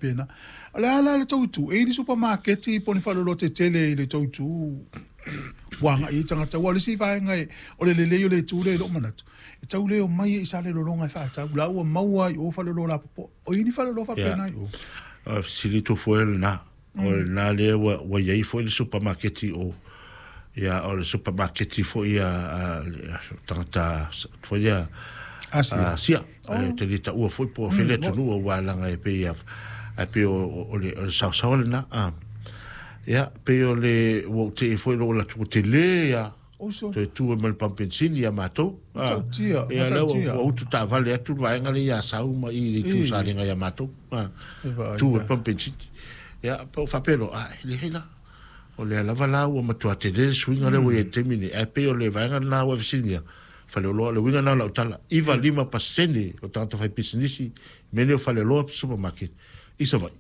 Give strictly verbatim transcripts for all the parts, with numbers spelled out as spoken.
faapena. O le a la le tou itu, e i ai ni supamaketi po o ni faleoloa tetele i le tou itu ua agai ai tagata? Aua o le isi vaega e, o le lelei o le itu lea i lou manatu, e tau le omai ai i Salelologa e faatau, la ua maua ai i o faleoloa lapopoa. O i ai ni faleoloa faapena i o? O le fesili tofua o lena. O lena lea ua, ua i ai foi le supamaketi i o. Ia, o le supamaketi foi a, a, a tagata foi lea Asia. Asia. Oh. Te le taua foi po o fele atunuu aua leaga e pei a, ae pei o, o, o le, o le saosaoa lena. Ah. Ia, pei o le, ua ou te'i foi lou alu atu, ua tele a, Oso. toe tu ai ma le pamu penisini ia matou. Ah. Matautia, Ia, lea ua, matautia. ua utu taavale atu le vaega lea i Asau ma i le itu Ī. Salega ia matou. Ah. E vaai Tu ai la. le pamu penisini. Ia, pe o faapea loa, ah, e leai la. O lea lava la ua matua tele le suiga lea ua i ai i le taimi nei. Ae pei o le vaega lena ua e fesiligia, faleoloa, o le uiga lena o lau tala, iva lima pasene o tagata faipisinisi i mea nei o faleoloa supermarket i Savaii,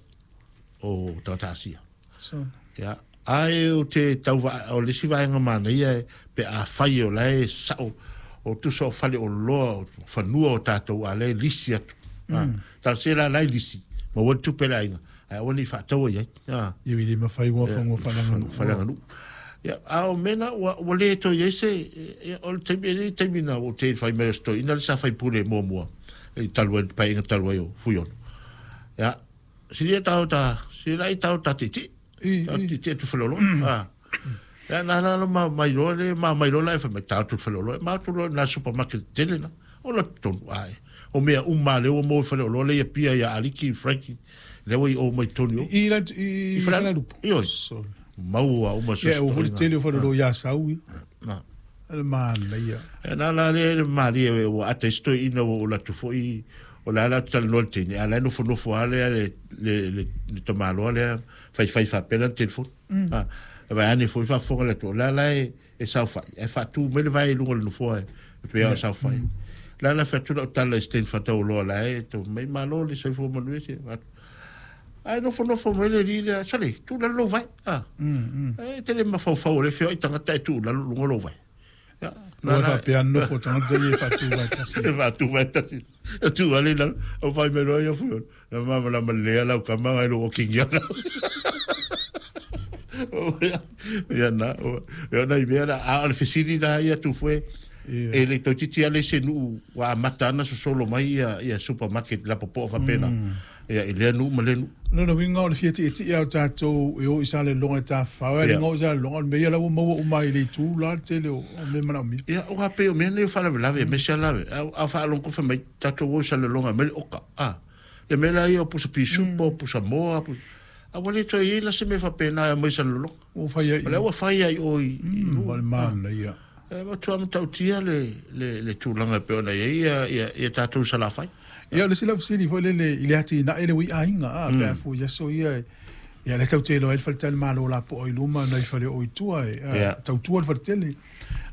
o tagata Asia. So. Ia, ae ou te tau vaa, o le isi vaega manaia e, pe afai o la e sao, o tusa o faleoloa, o fanua o tatou, a la e lisi atu. Mm. Talosia la la e lisi, maua le tupe a le aiga, ae aua ne i faataua i ai. Ah. Ia e le mafai ua fanua faaleaganuu. Faaleaganuu. Ia, a o mea na, ua, ua le toe i ai se, ia, o le taimi, e le taimi na ua ou te fai mai o se toeaina le sa faipule muamua, i talu ai, le paeaiga talu ai o Fuiono. Ia, silia tau ta, silia lai tau ta tietie, I, tau i. tietie atu faleoloa. Ah. Ia, na la la ma mai loa le, ma mai loa la e fai mai, tau atu le faleoloa, ma atu loa i na supermarket tele na, o la totonu, ai. O mea uma lea ua maua i faleoloa lea i Apia ia Aliki, Frankie, lea ua i o mai totonu i o. I, i, i, I Falealupo. Ioe. Sorry. Maua uma Ia, ua foi le tele o faleoloa i Asau, ia. Na. Le manaia. E na la lea le malie e ua ata i se toeaina ua ou alu atu foi, o le a la talanoa i le teine, a la e nofonofo lava lea le, le, le, le tamaloa lea faifai faapea lana telefoni. Ah, e vaai ane foi faafofoga le atunuu, o le a la e, e saofai, ae faatu mai le vae i luga o le nofoa e, e pei lava o saofai. La la fai atu lau tala i se teine faataualoa la e tau mai malo le soifua manuia se atu. Ae nofonofo mai le alii lea, sole, tuu lalo lou vae. Ah. E tele mafaufau o le feoai tagata e tuu lalo luga o lou vae. Ia, Ua faapea nofo tagata ia e faatu vaetasi. E faatu vaetasi. E tuu ale i lalo, o fai mai loa ia Fuiono. Na malamalama lelei lava lau tama ngai lou okigiaga. Ia na, ia nai mea na, a o le fesili la ia Tufue, e le toeitiiti lava le isi nuu ua amata ana sosolo mai ia, ia supermarket lapopoa faapena, ia i lea nuu ma lea nuu. Lona uiga o le fia tietie o tatou e o i Salelologa e tafafao, ae le igoa o Salelologa, o le mea ia la ua maua uma i le itu la le tele o mea manaomia. Ia, aua pei o mea nei o faalavelave, aemaise lava a, a faalogo fai mai tatou o i Salelologa e aumai le oka, a. Ia mea la ia o pusa pisupo, pusa moa, pusa, a ua le toe i ai la se mea faapena e aumai i Salelologa. Ua fai ai. O lea ua fai ai o i, i Mm, o le manaia. E matua matautia le, le, le tulaga e pei ona i ai ia, ia, ia tatou Salafai. Ia, o le isi lau fesili foi lele i le atinae le ua i aiga, a, pe a fua i aso ia, ia lea tatou te iloa ai le faletalimalo lapoa i luma nai fale o i tua e, a, Ia. tautua le faletele.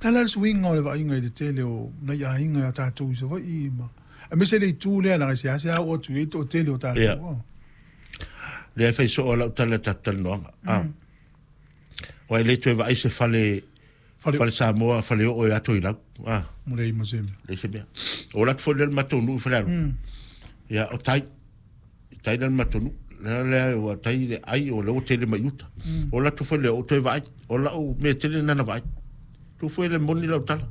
La la le suiga o le vaaiga i le tele o nai aiga ia tatou i Savaii ma aemaise le itu lea leaga e seasea oo atu i ai le toatele o tatou. Ia. A. Lea e fai soo lau tala i le tatou talanoaga. A. Aua e le toe vaai se fale, Fale- fale Samoa, fale oo e ato i lau. A. Mo leai ma se mea. Leai se mea. O alu atu foi lea le matou nuu i Falealupo. Ia, o tai. I tai lea le matou nuu. Lea lea ua tai le ai o lea ua tele mai uta. O alu atu foi lea ou toe vaai. O lau mea tele lena na vaai. Tu foi le moni lau tala.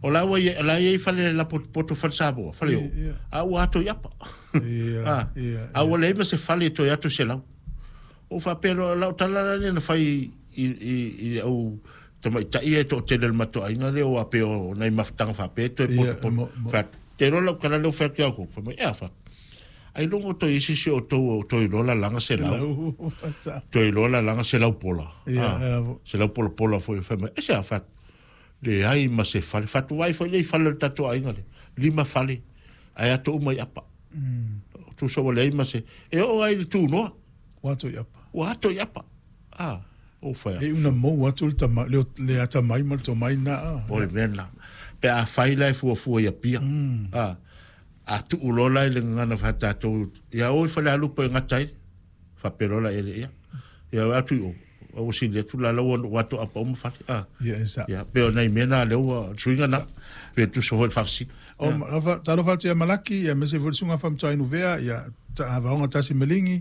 O la ua i, la i ai fale lapotopoto fale Samoa, fale oo. Ia, ia. A ua ato i apa. Ia, Ah, ia, a ua leai ma se fale e toe ato selau. O faapea loa lau tala la lea na fai i, i, i le au tamaitai ia e toatele o le matou aiga lea ua pei o nai mafutaga faapea e toe Ia, potopoto. mo- mo- Fai atu, te iloa lau tala lea ua fai atu ia outou. Fai mai, e a fai atu. Ailoga o toe isi si o outou o toe iloa lalaga selau. Selau. Toe iloa lalaga selau pola. Ia, Ah, ia, vo- selau polapola foi. Fai mai, e se a fai atu. Leai ma se fale. Fai atu, vaai foi lea i fale o le tatou aiga lea. Lima fale. Ae ato uma i apa. Tusa ua leai ma se. E oo ai i le tunoa. Ua ato i apa. Ua ato i apa. Ah, o fai atu. E una maua atu le tama, le, le atamai ma le tomai na. A. O le mea lena. Pe a fai la e fuafua i Apia. Ah, a tuu loa la i le gagana faa-tatou, ia o i Falealupo e gata ai, faapea loa la ia, ia. Ia o atu i o, ua sili atu la la ua ua ato apa uma fale. Ah, Ia, e sa. ia, pe o nai mea na lea ua suiga na, pe tusa foi le faafesili. O, ma- talofa atu ia Malaki, ia aemaise foi le susuga faamatuai Nuvea, ia ta- Vaoga Tasi Maligi,